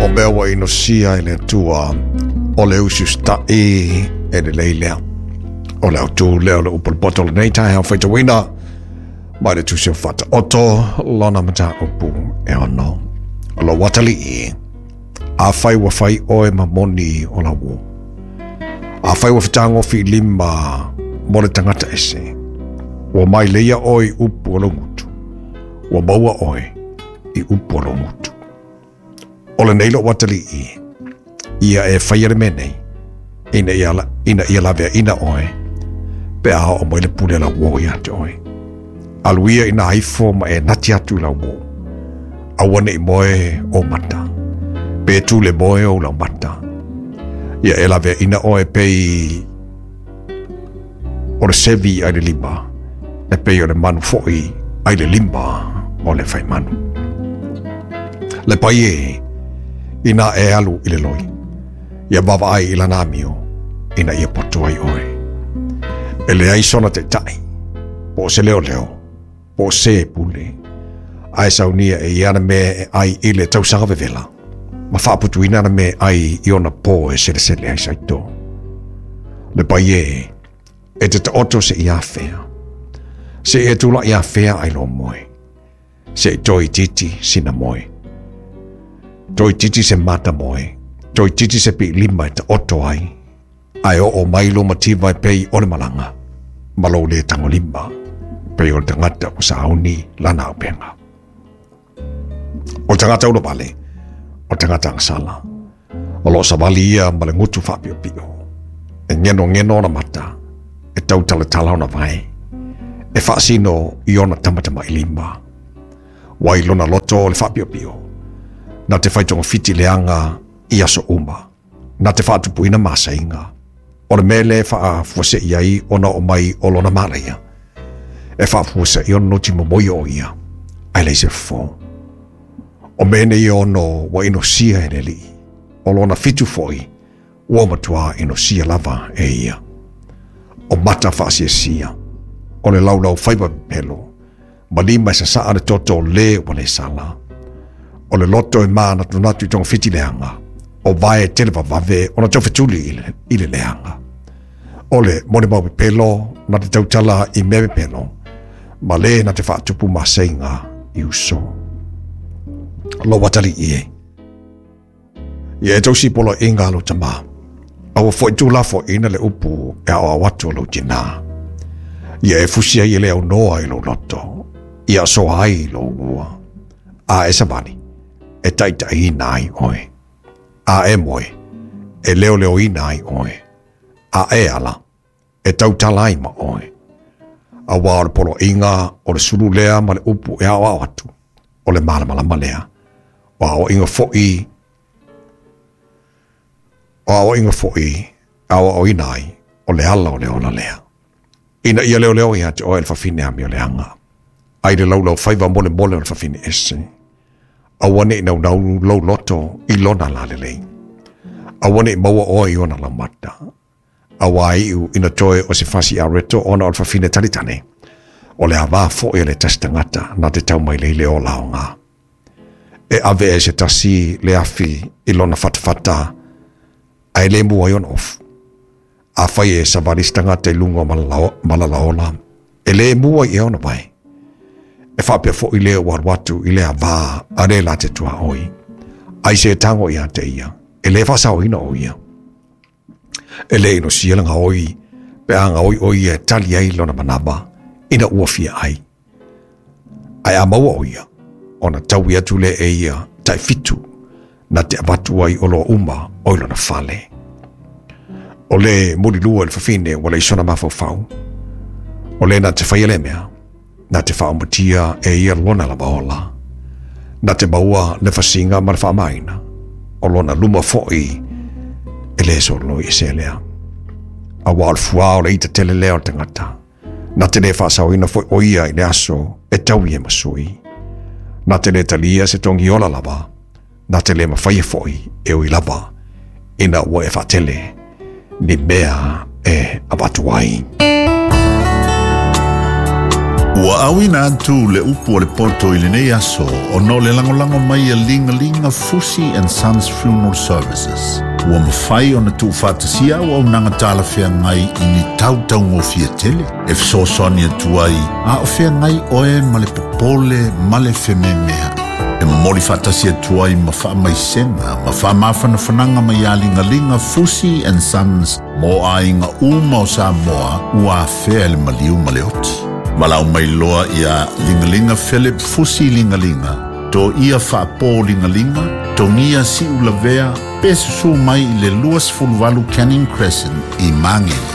O mea ua inosia e le Atua, o le usiusitaʻi e lelei lea. O le autū lea o le upu o le poto o lenei taeao faitauina mai le Tusi o Faataoto lona mataupu e 6. O lou atalii, afai ua fai oe ma moni o lau uō. Afai ua fetagofi i lima mo le tagata ese, ua maileia oe i upu o lou gutu, ua maua oe i upu o lou gutu. O lenei lou atalii, ia e faia le mea nei, ina ia laveaina oe, pe a oo mai le pule a lau uō ia te oe. Alu ia ina ifo ma e nati atu i lau uō. Aua ne i moe ou mata, pe tu le moe ou laumata. Ia e laveaina oe pei o le sevi ai le lima, e pei o le manu foi ai le lima o le faimanu. Le pai e, ina e alu i le loi, ia vaavaai i lana amio, ina ia poto ai oe. E leai sona taitai, po o se leoleo, po o se pule, ae saunia e ia ana mea e ai i le tausaga vevela, ma faaputuina ana mea e ai i ona po e selesele ai saito. Le pai e, e te taoto seia afea, seia e tulaʻi afea ai lou moe, se i toeitiiti sina moe. Toeitiiti se mata moe, toeitiiti se piilima e taoto ai, ae oo mai lou mativa e pei o le malaga, ma lou le tagolima, pei o le tagata ua sauni lana auupega. O le tagata ulavale, o le tagata agasala, o lo o savali ia ma le gutu faapiopio. E genogeno ona mata, e tautalatala ona vae, e faasino i ona tamatamailima. Ua i lona loto o le faapiopio, na te fai togafiti leaga i aso uma, na te faatupuina masaiga. O le mea lea e faafuasei ai ona oo mai o lona malaia, e faafuasei ona noti momoi o ia, ae leai se fofo. O mea nei e 6 ua inosia e le Alii, o lona 7 foi ua matuā inosia lava e ia. O mata faasiasia, o le laulau faiva pepelo, ma lima e sasaa le toto o le ua le sala. O le loto e mānatunatu i togafiti leaga, o vae e televavave ona taufetuli i le leaga. O le molimau pepelo na te tautala i mea pepelo, ma le na te faatupu maseiga i uso. Lou atalii e, ia e tausi poloaiga a lou tamā, aua foi tuulafoaiina le upu e aoao atu a lou tinā. Ia e fusi ai e le aunoa i lou loto, ia asoa ai lou lua. A e savali, e taitaiina ai oe. A e moe, e leoleoina ai oe. A e ala, e tautala ai ma oe. Auā o le poloaiga o le sulu lea ma le upu e aoao atu, o le malamalama lea. O aoaiga foi, o aoaiga foi e aoaoina ai, o le ala o le ola lea. Ina ia leoleo ia te oe le fafine amioleaga, ai le laulau faiva molemole o le fafine ese. Aua ne i naunau lou loto i lona lalelei. Aua ne i maua oe i ona laumata. Auā iu ina toe o se fasi areto ona o le fafine talitane. O le avā foi a le tasi tagata na te tau mai lei le ola aoga. E ave e se tasi le afi i lona fatafata ae le mua ai ona ofu. Afai e savali se tagata i luga o malalaola, e le mua i ea ona vae. E faapea foi le ua alu atu i le avā a le la te tuaoi. Ai se tago ia te ia, e le faasaoina o ia. E le inosia le gaoi, pe a gaoi o ia e tali ai lona manava, ina ua fia ai. Ae a maua o ia, ona taui atu lea e ia tai 7, na te avatu ai oloa uma o i lona fale. O le mulilua i le fafine ua leai sona mafaufau. O le na te faia le mea, na te faaumatia e ia lona lava ola. Na te maua le fasiga ma le faamaina, o lona luma foi e le sololoi ese lea. Auā o le fuā o le ita tele lea o le tagata. Na te le faasaoina foi o ia i le aso e taui e ma sui. Na te le talia se togi ola lava, na te le mafaia foi e ui lava, ina ua e faatele ni mea e avatu ai. Ua auina atu le upu a le poto i lenei aso ona o le lagolago mai a Ligalinga Fusi and Sons Funeral Services. Ua mafai ona tuufaatasia auaunaga talafeagai i ni tau taugofie tele e fesoasoani atu ai a o feagai oe ma le popole ma le fememeai. E momoli faatasi atu ai ma faamaisega ma faamafanafanaga mai ia Ligalinga Fusi and Sons mo aiga uma o Samoa ua afea e le maliu ma le oti. Valaau mai loa ia Ligalinga Philip Fusi Ligalinga, Toia Faapo Ligalinga, Togia Siulavea, pe susu mai i le 28 Canning Crescent i Magele.